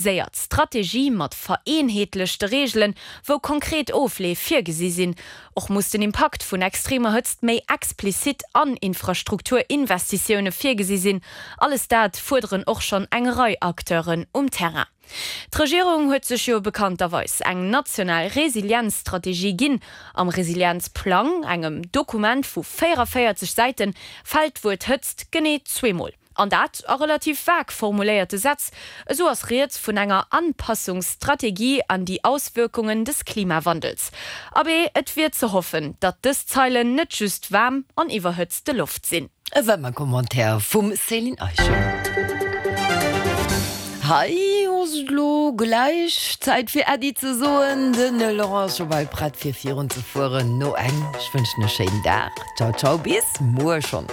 Séiert Strategie mat vereenheetlechte Reegelen, wou konkret Ofleef virgesi sinn. Och muss den Impakt vun extremer Hëtzt méi explizit an Infrastrukturinvestitioune virgesi sinn. Alles dat fuerderen och schonn eng Rei Acteuren um Terrain. D'Regierung huet sech jo bekannterweis eng national Resilienzstrategie ginn. Am Resilienzplang, engem Dokument vu 44 Säiten, fält d'Wuert Hëtzt genee zweemol. An dat a relativ vag formuléierte Sätz. Esou ass rieds vun enger Anpassungsstrategie an die Auswirkungen des Klimawandels. Abee, et wier ze hoffen, datt dës Zeilen net just waarm an iwwerhëtzte Loft sinn. E Wëmmer-Commentaire vum Céline Eischen. Hei ass et elo gläich Zäit fir Äddi ze soen. Den Laurent ass scho bal prett fir virun ze fueren no eng. Ech wënschen e schéinen Dag. Ciao ciao bis muer schonn.